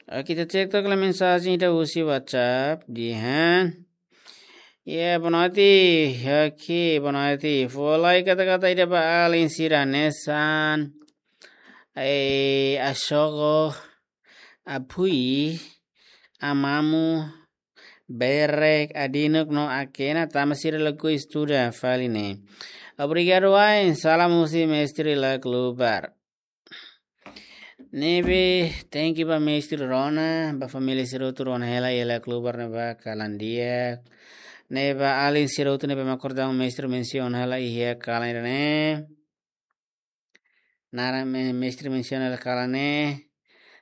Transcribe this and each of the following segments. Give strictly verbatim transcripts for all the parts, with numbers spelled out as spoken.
Oke, ita cek tok la mensajen ida husi WhatsApp, dehan. Ya, boa noite. Oke, boa noite. Fó lai kata-kata ida ba alin sira hanesan. Eh, asoko, apui, amamu, berek, adinuk no akena, tanba sira lakohi estuda fali ne'e. Obrigadu wa'in, salam husi mestre Lac Lubar. Ne'ebé, thank you ba mestre Rona, ba família sira hotu rona hela iha Lac Lubar ne'ebá kalan di'ak. Ne'e ba alin sira hotu ne'ebé mak kordang mestre mensiona hela iha kalan ne'e. Naran me-, mestre mensiona hela kalan ne'e.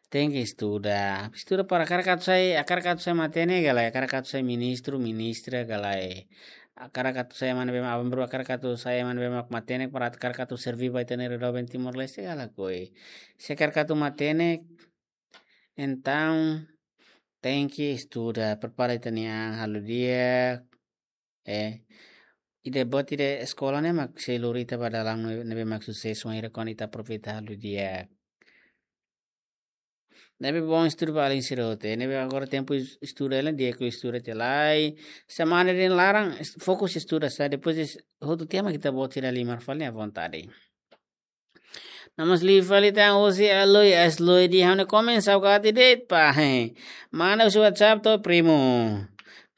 Tenke estuda. Estuda para hakarak atu sai, hakarak atu sai matenek ka lae, hakarak atu sai ministru, ministra ka lae. Hakarak atu sai ema ne'ebé mak, aban-bainrua hakarak atu sai ema ne'ebé mak matenek para hakarak atu serví ba ita-nia rai doben Timor-Leste ka lakohi. Se hakarak atu matenek, entaun tenke estuda, prepara ita-nia an halo di'ak. Eh, ida buat ida eskola ne'e mak sei lori ita ba dalan ne'ebé mak susesu, wainhira kuandu ita aproveita halo di'ak. Ne'ebé bom estuda ba alin sira hotu. Ne'ebé agora tempu es-, estuda hela, di'ak estuda tiha lai. Semana ida laran, es-, fokus estuda sá, depois es-, hotu tiha mak ita-boot sira halimar fali à vontade. Namas liu fali tan husi Aloi, Asloi dehan ha'u-nia komen saugati de'it pá, he. Manda husi WhatsApp to, primo.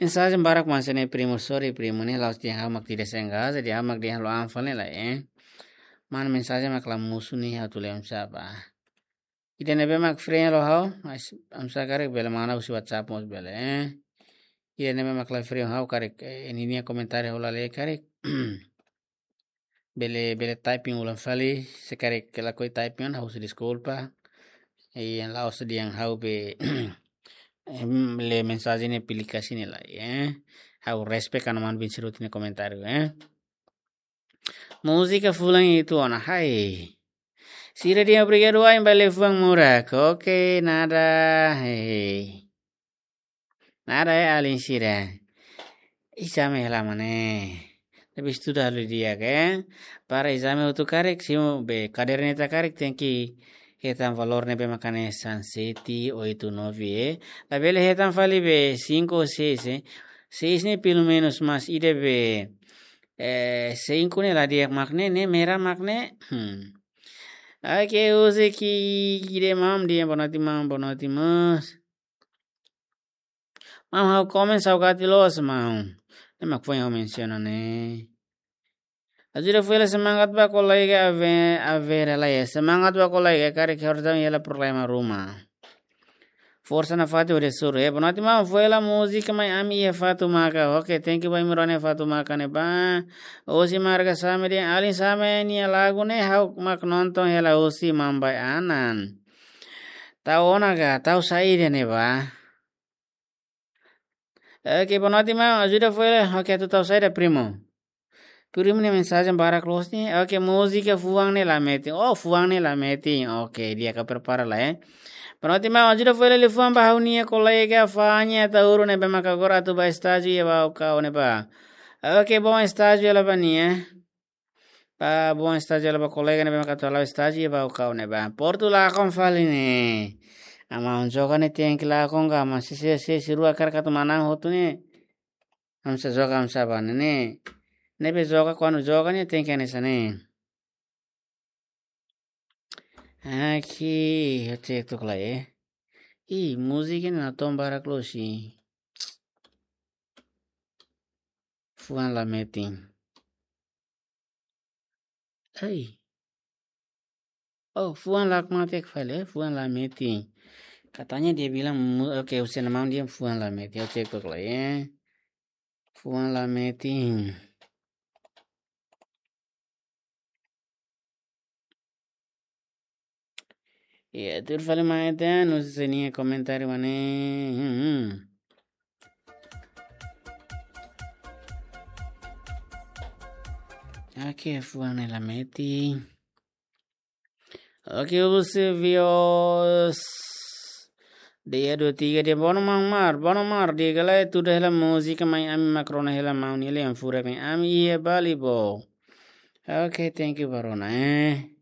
Mensajen barak mak hanesan ne'e, primo, sorry, primo, ne'e la'ós dehan ha'u mak tidak sengaja, dehan ha'u mak dehan halo an fali lai, eh. Mana mensajen mak la mosu ne'e ha'u atu lee oinsá bá. Ida ne'ebé mak free halo ha'u, mas oinsá karik bele manda husi WhatsApp mós bele, eh. Ida ne'ebé mak la free ha'u karik, eh, ninia komentáriu ha'u la lee karik. Bele, bele typing ulang fali, se karik lakohi typing, ha'u husu deskulpa. I yang la'ós dehan ha'u be, em, lee mensajen ne'e pilih ka sini lai, eh. Ha'u respect ona maun-bin sira hotu nia komentáriu, eh. Múzika fulan ida ona, hai. Sira dehan obrigadu wa'in ba liafuan murak. Oke, nada, hei. Nada, eh, alin sira. Ezame hela mak ne'e. Tapi estuda halo di'ak, eh. Para ezame hotu karik, simu be kaderneta karik tenke hetan valór ne'ebé mak hanesan sete, oito, nove, eh. Labele hetan fali be cinco ou seis, eh. Seis ne'e pelumenus, mas ida be, eh, cinco ne'e la di'ak mak ne'e, ne'e merah mak ne'e. Hmm. Oke, husi Kide maun dehan boa noite maun, boa noite mós. Maun, ha'u komen saugati loos maun. Ne'e mak foin ha'u mensiona ne'e. Ajuda fó hela semangat ba kolega Ave-, Avera lai. Semangat ba kolega, karik ha'u harus daun hela problema ruma. Forsa nafatin hodi hasoru. Eh, boa noite maun, fó hela múzika Mai Ami iha Fatumaka. Oke, thank you ba imi rona iha Fatumaka ne'ebá. Husi Marga Same dehan alin Same nia lagu ne'e ha'u mak nonton hela husi Mambai Anan. Tau ona ka, tau saida ne'ebá. Oke, boa noite maun, ajuda fó hela. Oke, atu tau saida, primo? Primo nia mensajen barak loos ne'e. Oke, múzika Fuan Ne'e La Metin. Oh, Fuan Ne'e La Metin. Oke, di'ak, ha'u prepara lai, eh. Boa noite maun, ajuda fó hela liafuan ba ha'u-nia kolega Fanya Tauru ne'ebé mak agora atu bá estájiu iha Baucau ne'ebá. Oke, bom estájiu hela ba nia. Bá, bom estájiu hela ba kolega ne'ebé mak atu hala'o estájiu iha Baucau ne'ebá. Portu lakon fali ne'e. Maun, joga ne'e tenke lakon ka, mas se, se, se, se rua hakarak atu manán hotu ne'e. Imi sei joga, imi sei bá ne'e. Ne'ebé joga, kuandu joga ne'e tenke hanesan ne'e. Aqui, ha'u cek tok lai, eh. Ih, múzika ne'e natoon barak loos, ih. Fuan La Metin. Ai. Oh, Fuan La Metin fali, eh, Fuan La Metin. Katanya dia bilang mu-, oke, husi nia maun dehan Fuan La Metin. Ha'u cek tok lai, eh. Fuan La Metin. Ya, tuir fali mai ita, no sé se nia komentáriu mak ne'e. Hmm, hmm. Oke, Fuan Ne'e La Metin. Oke, husi Vios. Dia dua tiga dia bono mang mar, bono mar, dia galai tuda hela múzika Mai Ami mak rona hela maun nia lian furak ne'e ami iha Bali bo. Oke, thank you ba rona, eh.